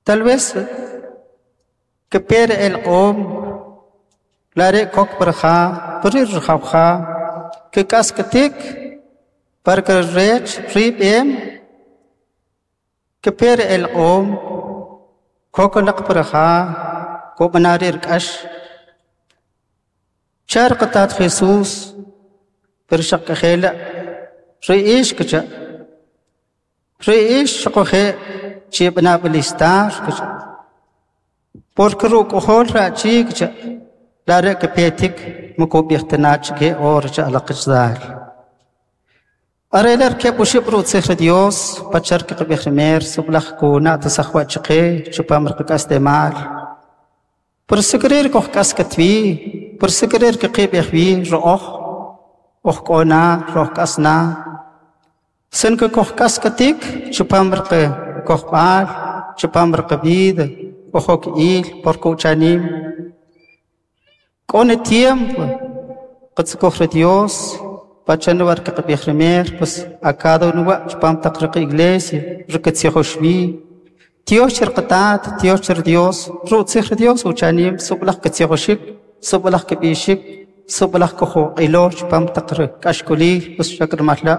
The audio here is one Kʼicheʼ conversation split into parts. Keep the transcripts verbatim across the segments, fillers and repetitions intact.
Tal vez que per el q'om lare kok parja parir jawja que kaskatik para que rech rib'em que per el q'om kok laq parja kob'anarir k'ax char qatat Jesús per xaq k'ajela ri'ix kacha ri'ix xaqoje chib'anab'alistar kacha porque ruk'ojol ra'chi kacha lare kapetik mukub'ijtanach ke or cha alaqichdal arelar ke bushib rutzij Dios pachar ke qb'ij sublaj kuna tasajwa chqe chupam rqk'aslemal por sikrir koj k'askatwi por sikrir ke qib'ij wi ro'oj oj k'ona roj k'asna sin ke koj k'askatik chupam rqe kojb'al chupam rqb'id ojok il por kuchanim k'one tiempo qatzkoj Dios pachanwar ke qb'ij rimer pues a cada uno chupam taq rq iglesia rqtzijoxwi Dios cherqatat Dios cher Dios rutzij Dios uchanim sublaj ketzijoxik sublaj keb'ixik sublaj kojoq'ilo chupam taq k'axk'olil pues xakrmalha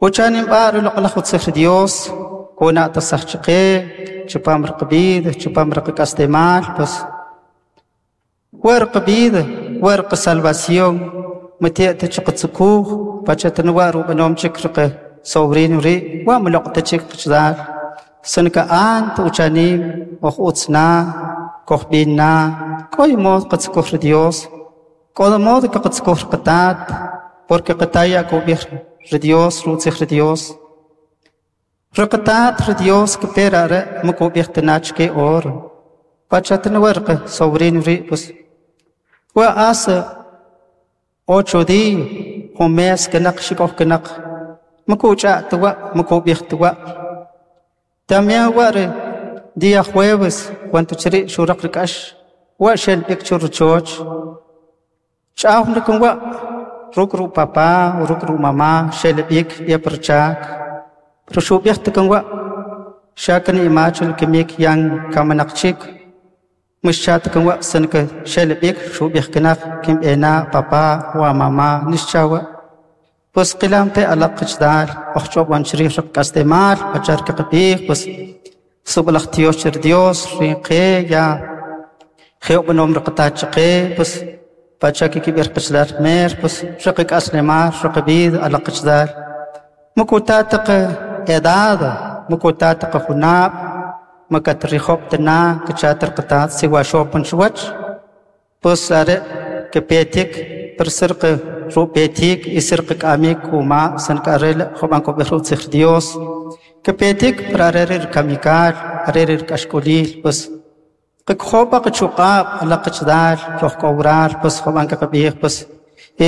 uchanim b'a ruloq'laj utzij Dios kona tasajchqe chupam rqb'id chupam rqk'aslemal pues warqb'id warq salvación mati'ta chqatzukuj pachatnwa rub'anom chik rqe sobrino ri wa mloq'ta chik qchdal sanka ant uchanim oj utzna kojb'inna k'oy mod qatzkuj Dios k'o mod qatzkuj qatat porque qataya kub'ij Dios rutzij Dios rqatat Dios kpera re mukub'ij tanach ke or pachatnwa rqe sobrino ri pues wa hace ocho días un mes kanaq xik'oj kanaq makuch'a tuwa makub'ij tuwa también ware día jueves cuando chri xuraq rk'ax wa xel b'ik churchoch ch'aw nakun wa ruk ru papá ruk ru mamá xel b'ik yaprchak pero xub'ij tukun wa xakan imachul kimik yan kamanaqchik mixchat kun wa sanka xel b'ik xub'ij kanaq kim ena papá wa mamá nixchawa pues qilamte alaq qichdal ojch'ob'an chrij rqk'aslemal pachar qb'ij pues sublaj Dios cher Dios rinqe ya jeob'anom rqatachqe pues pacha kikib'ir qichdal mer pues rqk'aslemal rqb'id alaq qichdal mukutataq edad mukutataq junab makatrijob tana kchatar qatat siwa shopan chuwach pues are kepetik persirq rupetik isirq k'amik kuma sankarel joban kob'ij rutzij Dios kepetik prarerir kamikal arerir k'axk'olil pues qkjoba qchuq'ab alaq qichdal roj k'owral pues joban kaqb'ij pues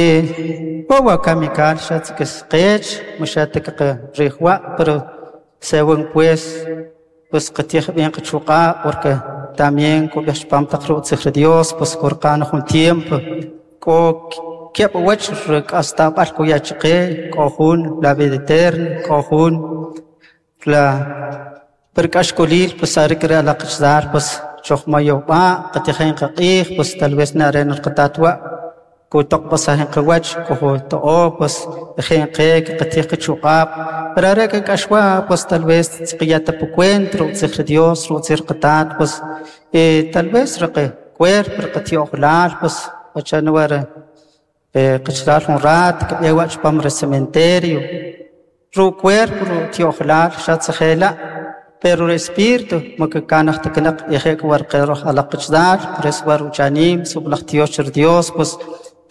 eh wawa kamikal xatzkis qech mushatak rijwa pero según pues pues qatij bien qchuq'ab porque también kob'ij chpam taq rutzij Dios pues korqan jun tiempo k'o keb' wach rk'astab'al kuyachqe k'o jun la vida eterna k'o jun la perk'axk'olil pues arikre alaq qichdal pues chojmayowb'a qatijen qaq'ij pues tal vez naren rqatatwa kutoq pasajen qawach kojoto'o pues jen qe qatij qchuq'ab pero are k'axwa pues tal vez tzqiyata pucuent rutzij Dios rutzij qatat pues eh tal vez rqe cuerpo rqatio'jlal pues pachanwar qichdal jun rat kb'ewa chpam ri cementerio ru cuerpo ru tio'jlal xatzjela pero el espíritu makanaj taknaq ejek warqeroj alaq qichdal pres war uchanim sublaj Dios cher Dios pues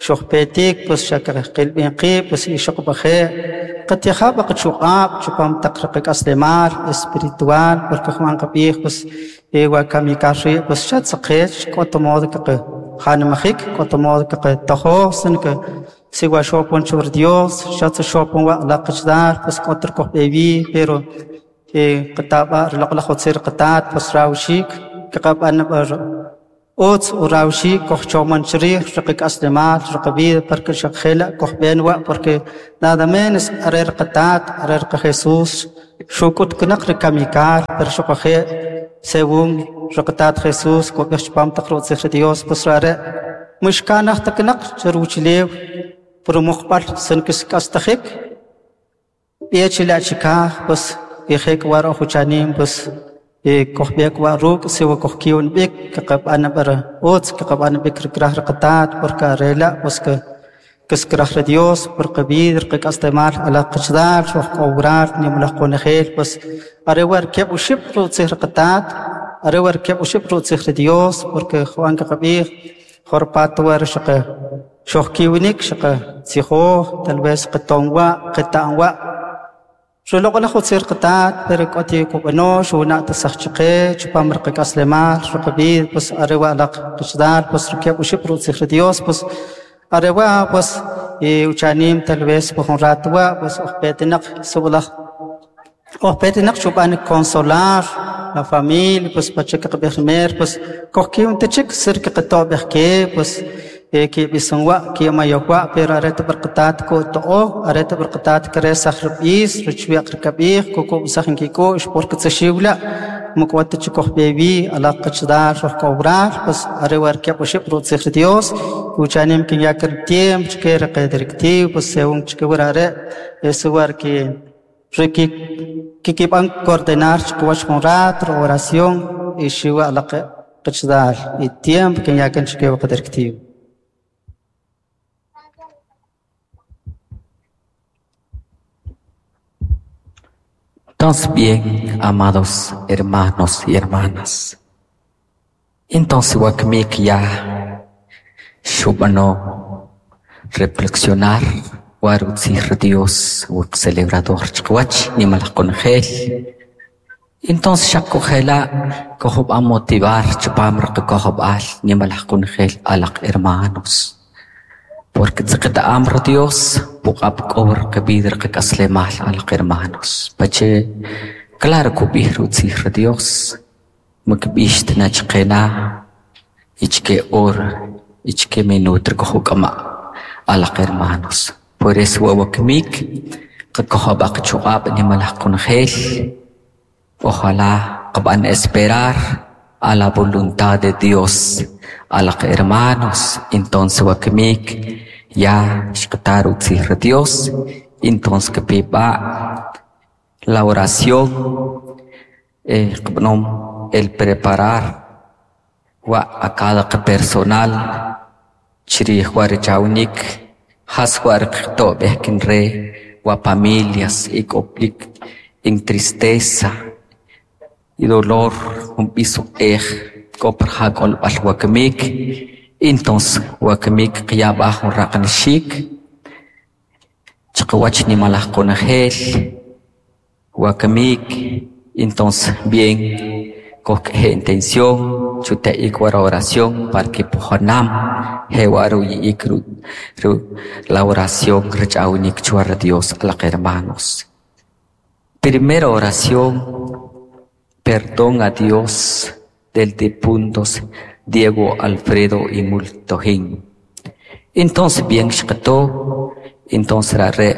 xojpetik pues xakqilb'in qib pues ixoqb'aje qatijab' qchuq'ab' chupam taq rqk'aslemal espiritual porque Juan qab'ij pues ewa kamikal ri pues xatzqech k'oto modo qe janmajik k'oto modo qe tojo sin que siwa xopon chur Dios xatz xopon wa alaq qichdal pues k'otor kojb'ewi pero eh qataba rloq'laj utzir qatat pues rawxik kqab'an Utz urawxik kojchoman chrij riqak'aslemal riqab'ida porque xaq jela' kojb'en wa' porque nada menos are riqatat are riqa Jesús xuk'ut kinaq rikamikal pero xuquje' según riqatat Jesús kub'ij chpam taq rutzij ri Dios pues are' mixkanaj ta kinaq che ruwuchulew puro muqb'al sin kisk'astajik b'e chila' chikaj pues ijek war ojuchanim pues kojb'ek wa ruk' si wa kojkiwn b'ik kaqab'an b'ar utz kaqab'an b'ik rikraj riqatat porque are la' pues que kiskraj ri Dios porque vida riqak'aslemal alaq qachdal xojk'owral nimalaj qonejel pues are war keb' oxib' rutzij riqatat are war keb' oxib' rutzij ri Dios porque Juan qaqab'ij jorpat war xaqa xojkiwinik xaqa tzijoj tal vez qaton wa' qeta'm wa' Xuloq'laj utzir qatat pero k'oti kub'ano xuna' tasaj chaqe chpam riqak'aslemal riqab'id pues are wa' alaq qachdal pues rikeb' oxib' rutzij ri Dios pues are wa' pues uchanim tal vez por jun rato wa' pues ojpetinaq sib'alaj ojpetinaq xub'an consolar la familia pues pacha qaqb'ij mer pues kojkiwn ta chik sir qato'b'ej ke pues kib'isan wa' kimayoj wa' pero are ta b'arqatat ku'to'o are ta b'arqatat kresaj rib'is richwiq rikab'ij kukub'saj inkik'u'x porque tzaxiwla' muk'wat chik kojb'ewi alaq qachdal xojk'owral pues are war keb' oxib' rutzij ri Dios uchanim kinyak tiempo chke riqe directivo pues según chke war are' ese war ki riki kikib'an coordinar chkiwach jun rato oración y xiwa alaq qachdal y tiempo kinyakan chke waqa directivo. Entonces bien, amados hermanos y hermanas, entonces wakmik ya xub'ano reflexionar war utzij Dios wak celebrador chqwach nimalaj qonjel. Entonces xaq kujela kojub'an motivar chpam riqakojb'al nimalaj qonjel alaq hermanos. Porque tzaqeta'am ri Dios puq'ab' k'o riqab'id riqak'aslemal alaq hermanos. Pache claro kub'ij rutzij ri Dios makb'ix tina chqena ichke hora ichke minuto rikojuk'ama' alaq hermanos. Por eso wawakmik qakojob'aq chuq'ab' nimalaj qonjel. Ojalá qab'an esperar a la voluntad de Dios alaq hermanos. Entonces wakmik ya xqatar utzij ri Dios. Entonces kpiba la oración eh, qab'anom el preparar wa a cada personal chrij wa richawnik jas wa riqto'b'ej kinre wa familias ik'oplik en tristeza y dolor jun b'is uq'ej k'o par ja k'olb'al wakmik. Entonces wakmik qyab'aj jun raqanxik chqawach nimalaj qonjel wakmik. Entonces bien kojk'ej intención chuta'ik war oración para que pujanam jewa ruyi'ik ru, ru la oración rich'awnik chuwar Dios alaq hermanos. Primera oración, perdón a Dios del difuntos Diego Alfredo y Multojín. Entonces bien xqato, entonces re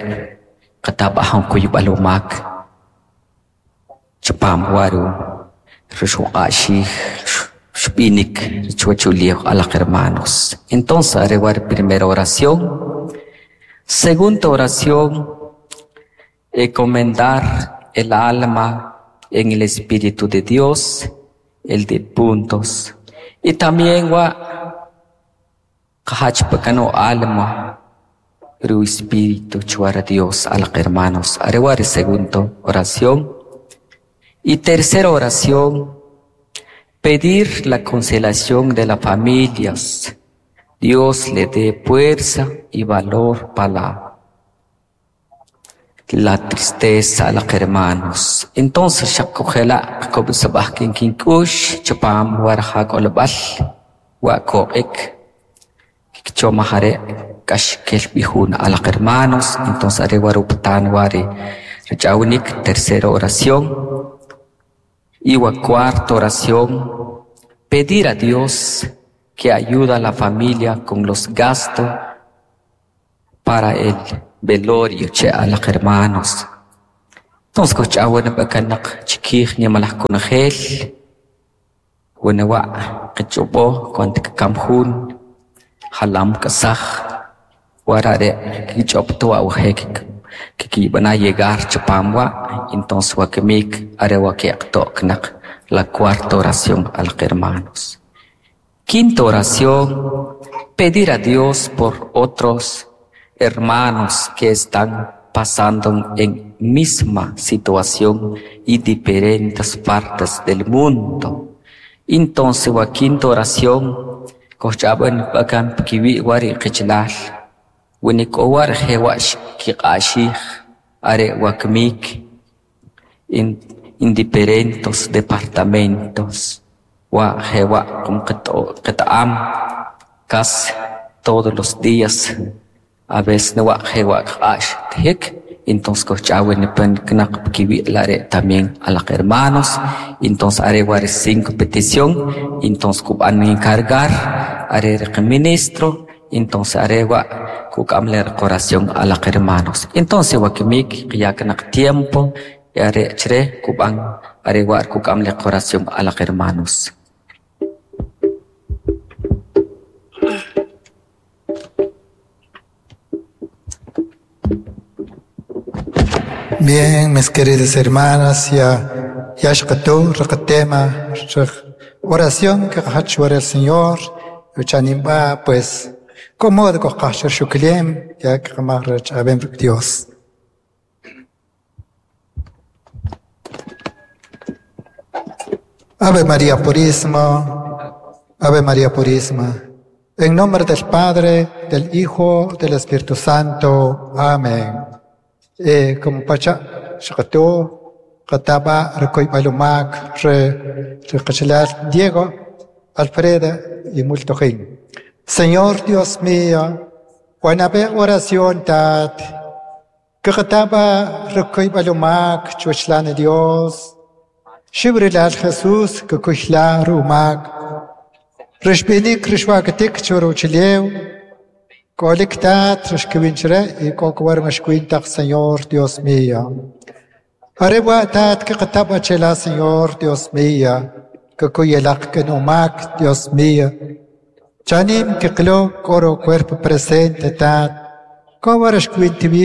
qatabajan kuyub'al umak chpam waru rixuq'axij xb'inik chuwachuliw alaq hermanos. Entonces are war primera oración. Segunda oración, encomendar el alma en el Espíritu de Dios, el de puntos. Y también wa qahach pakano alma ru espíritu chuara Dios alaq hermanos. Arewar segunda oración. Y tercera oración, pedir la consolación de las familias. Dios le dé fuerza y valor para la, la tristeza a los hermanos. Entonces, xaqkujela qkob'sab'aj kinkink'ux chpam warja k'olb'al wa ko'ik kikchomaj are' k'ax kel b'ijun a los hermanos. Entonces, are waruptan wari rich'awnik tercera oración. Y wa cuarta oración, pedir a Dios que ayuda a la familia con los gastos para el velorio che alaq hermanos. Entonces kojch'awen b'akanaq chikij nimalaj kunajel wanawa qich'ob'o cuando kkam jun jalam k'asaj warare kich'ob'towa wajek kikib'ana llegar chapam wa entonces wakimik are wa keqto'knaq la cuarta oración alaq hermanos. Quinta oración, pedir a Dios por otros hermanos que están pasando en misma situación y diferentes partes del mundo. Entonces, wa quinta oración, kojch'aben b'akan pkiwi' wari qichlal, winik'owar jewax kiq'axij are wakmik en, en diferentes departamentos. Wa jewa kum qet'am kas todos los días a veces no wa jewa q'ax tjik. Entonces kojch'awen pen knaq pkiwi' lare también a los hermanos. Entonces are war cinco petición. Entonces kub'an encargar are el ministro. Entonces are wa kuk'am le oración a los hermanos. Entonces wakimik qyaknaq tiempo are chre kub'an are wa kuk'am le oración a los hermanos. Bien, mis queridas hermanas, ya ya shqatu tema oración que qachwar el Señor, uchanimba pues como de qashar shuklem ya que abem Dios. Ave María Purísima, Ave María Purísima. En nombre del Padre, del Hijo, del Espíritu Santo. Amén. Eh, como pacha, shqatu, qataba, rekoy balumak, re, re Diego, Alfreda y Multojín. Señor Dios mío, wanabe oración tat, que qataba, rekoy balumak, chuchlane Dios, shibrilal Jesús, que kushla rumak, rishbinik rishwakatik churuchileu, Colectat rishkwinchre y kokwar mashkwintaq Señor Dios mío. Arewa tat que qataba chela Señor Dios mío, que kuyelaq que numak Dios mío. Chanim que klo coro cuerpo presente tat, kowar shkwintibi,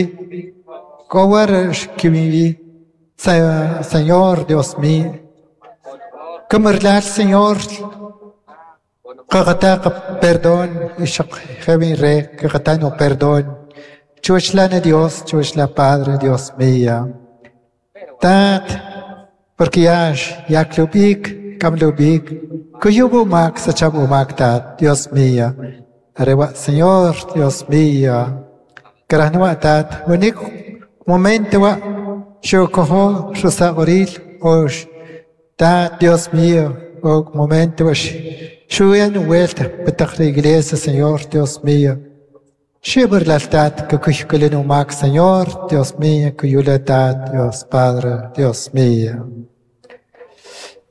kowar shkwinbi, Señor Dios mío. Kamerlal Señor, Qaqataqa perdón, ishaq jebin re, qaqatano perdón. Chuchlane Dios, chuchla Padre, Dios mío. Tat, porque yash, yaklubik, kamlubik, kuyubu mak, sachabu mak tat, Dios mío. Arewa, Señor, Dios mío. Karanua tat, unik momento wa, shukoho, shusa oril, osh, tat, Dios mío, o momento wa, Shuyan vuelta, petaq la iglesia, Señor, Dios mío. Shibur laltat, que kushkulinu mak, Señor, Dios mío, kuyulatat, Dios Padre, Dios mío.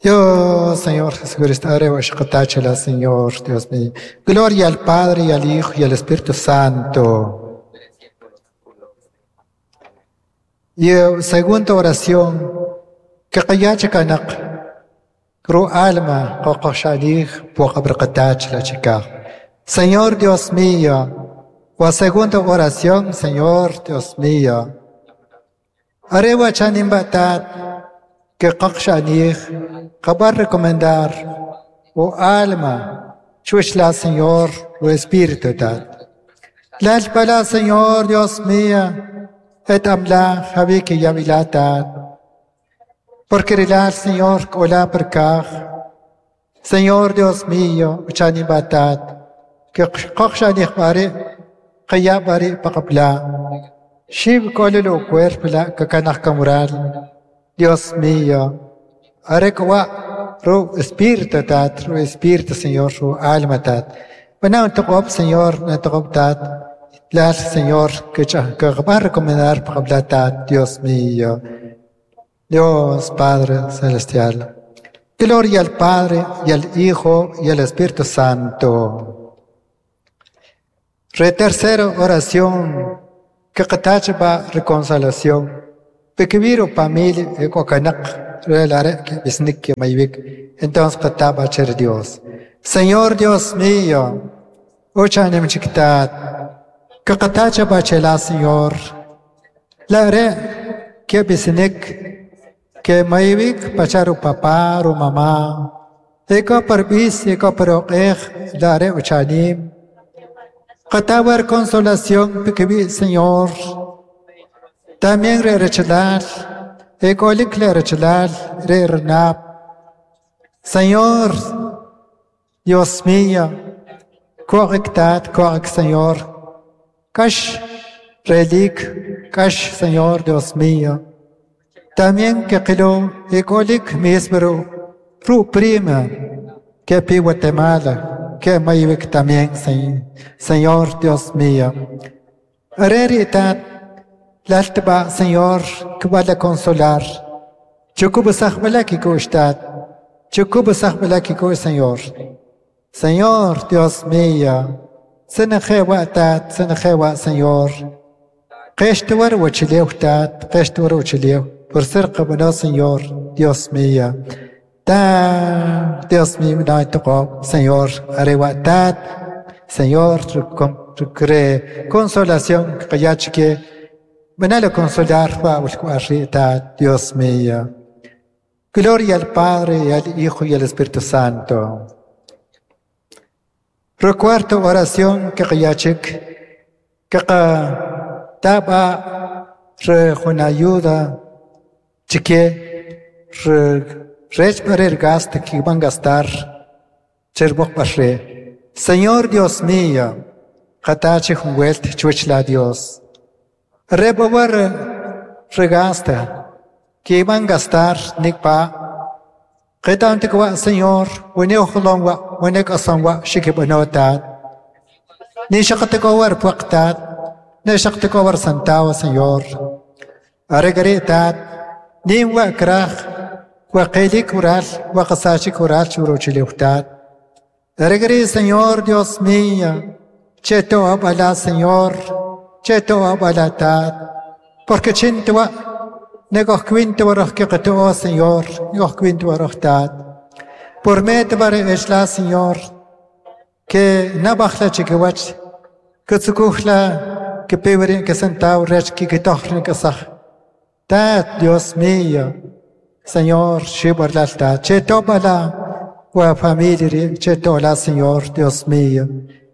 Dios, Señor Jesucristo, arewa shqatachala, Señor, Dios mío. Gloria al Padre, y al Hijo, y al Espíritu Santo. Y segunda oración, que qayachakanaq. Ru alma, qoqoshalij, puaqabrqatach la chica. Señor Dios mío, o segunda oración, Señor Dios mío. Arewa chanimbatat, que qoqshanij, qabar recomendar, o alma, chuchla Señor, o Espíritu tat. Lalpala Señor Dios mío, et amla, javiki yavilatat. Porque el Señor, hola perkaj. Señor Dios mío, uchanibatat, que qoqshanij bari, qaya bari paqapla. Shib kolelo cuerpo la kakanaj kamural. Dios mío, arekwa ru espíritu tat, ru espíritu Señor, ru alma tat. Bueno, toqop Señor, toqop tat. La Señor, que que va a recomendar paqapla tat, Dios mío. Dios Padre Celestial. Gloria al Padre, y al Hijo, y al Espíritu Santo. Re tercera oración, que qatachba reconciliación. Pekibiru familia ekokanak relare que bisnik que maybik. Entonces qataba cher Dios. Señor Dios mío, uchanim chiktat, que qatachba chela Señor. La re que bisnik que maybik pacharu papá ru mamá. Eko perbis eko peroqej la re uchanim. Qatawar consolación pikibi Señor. También re rechelal, ekolik le rechelal, re renap. Señor, Dios mío, correctat, correct Señor. Kash relik, kash Señor, Dios mío. También que qilo ekolik misbro, ru prima, que pi Guatemala, que maywik también, Señor, Dios mío. Areritat, laltba, Señor, que vale consolar. Chukubusaj balaki kustat. Chukubusaj balaki ku, Señor. Señor, Dios mío. Senejewa tat, senejewa, Señor. Qeshtuar wachileu tat, qeshtuar wachileu. Por ser qabana, Señor, Dios mío. Ta, Dios mío, no Señor, arewa tat, Señor, cre consolación, que venalo consolar, Dios mío. Gloria al Padre, y al Hijo, y al Espíritu Santo. Recuerdo oración que yachik, que taba re ayuda, chique, re rech gasto que van a gastar, cherbok pasre. Señor Dios mío, katache junguelt chuchla Dios. Rebobar regasta, que iban a gastar nikpa. Qetantikwa Señor, weneuhlongwa, wenekasongwa, shikibanotat. Ni shaqtikowar puaqtat, ni shaqtikowar santawa, Señor. Aregaritat, nimwa kraj, waqili kural, waqasachi kural churuchiliutat. Aregari, Señor Dios mío, cheto abala, Señor, cheto abalatat. Porque chintua, negoh quinto waroh kiqto, Señor, negoh quinto waroh tat. Por metbar esla, Señor, que nabajla chiquiwach, que tzukuhla, que pebre, que sentao rech, que kitohrin que saj. Tat, Dios mío, Señor, shibarlalta, cheto bala, wa familia, cheto la, Señor, Dios mío.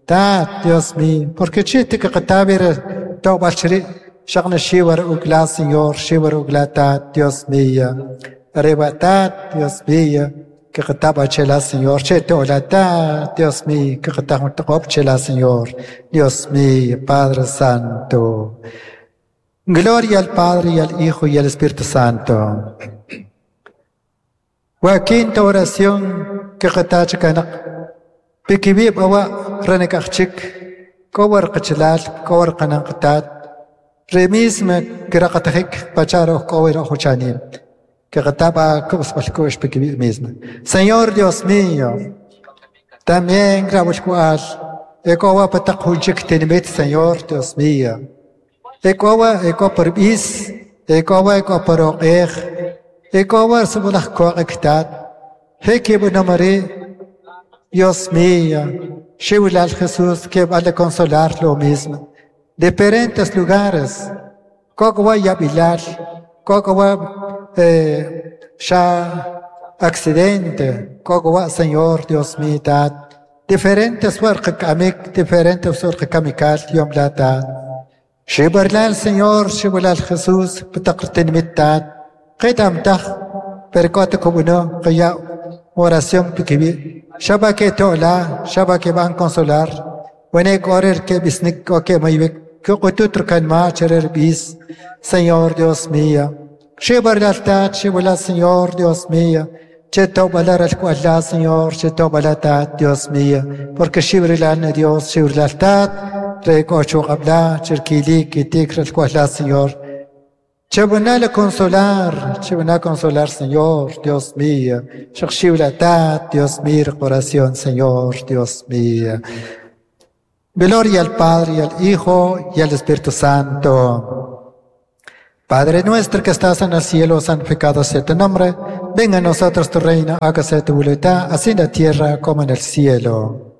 Tat, Dios mío, porque chite que qatabir tobal shri, shaqna shiwar ugla, Señor, shiwar ugla, tat, Dios mío. Arriba, tat, Dios mío, que qataba chela, Señor, cheto la, tat, Dios mío, que qataba chela, Señor, Dios mío, Padre Santo. Gloria al Padre, y al Hijo, y al Espíritu Santo. Wa quinta oración que qatacha kanak. Pikibib awa ranekachik, kowar qachalal, kowar qananqatat. Remisme kiraqatajik pacharo kowar ojuchanim. Que qataba kubsbalkush pikibib misma. Señor Dios mío, también grabulkual, ekowa pataqhunchik tenimit, Señor Dios mío. Ekowa eko perbis, ekowa eko peroqej, ekowa subulaj koqektat. Hekibunamari, Dios mío, Shiwilal Jesús que vale consolar lo mismo. Diferentes lugares, Kokowa Yabilal, Kokowa eh, ya accidente, Kokowa Señor Dios mío, diferentes suerqamik, diferentes suerqamikal, Yom Lata. Shibarlal Señor, Shiwilal Jesús, Putaqrtin mittat, Qidam tach, percote kubuno, Qya oración pikibi. Shaba que tola, shaba que van consolar, wene korer que bisnik o que maybek, que qututr kan ma cherer bis, Señor Dios mío. Shibar laltat, shibula Señor Dios mío. Cheto balar al kuala, Señor, cheto balatat, Dios mío. Porque shibrilan Dios, shibrilaltat, rekochu qabla, cherkili, kitik al kuala, Señor. Chabunala consolar, chabuna consolar, Señor, Dios mío. Tat, Dios mío, oración, Señor, Dios mío. Gloria al Padre, y al Hijo, y al Espíritu Santo. Padre nuestro que estás en el cielo, santificado sea tu nombre. Venga a nosotros tu reino, hágase tu voluntad, así en la tierra como en el cielo.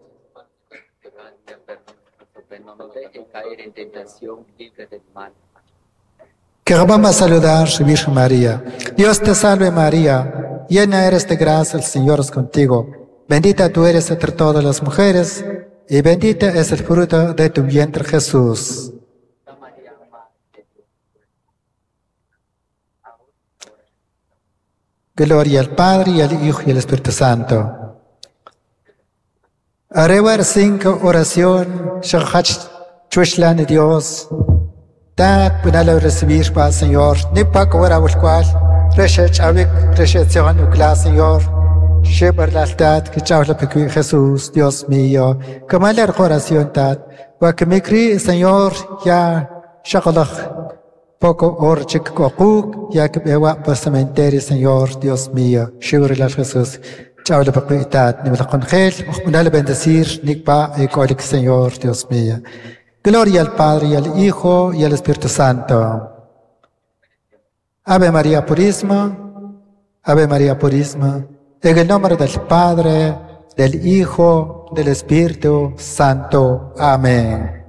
Que vamos a saludar, Virgen María. Dios te salve María, llena eres de gracia, el Señor es contigo. Bendita tú eres entre todas las mujeres, y bendita es el fruto de tu vientre Jesús. Gloria al Padre, y al Hijo, y al Espíritu Santo. Arrebar cinco oración, Chushlan Dios. Tat punalo recibir pa Señor, ni pa cobra cual, reshech avik, reshech ukla Señor, shebar la tat, que chau la pequi Jesús, Dios mío, como la oración tat, wa que me cri Señor, ya shakalach, poco orchik kokuk, ya que bewa pa cementerio Señor, Dios mío, shebar la Jesús, chau la pequi tat, ni la congel, punalo bendecir, ni pa ecolik Señor, Dios mío. Gloria al Padre, y al Hijo, y al Espíritu Santo. Ave María Purísima, Ave María Purísima, en el nombre del Padre, del Hijo, del Espíritu Santo. Amén.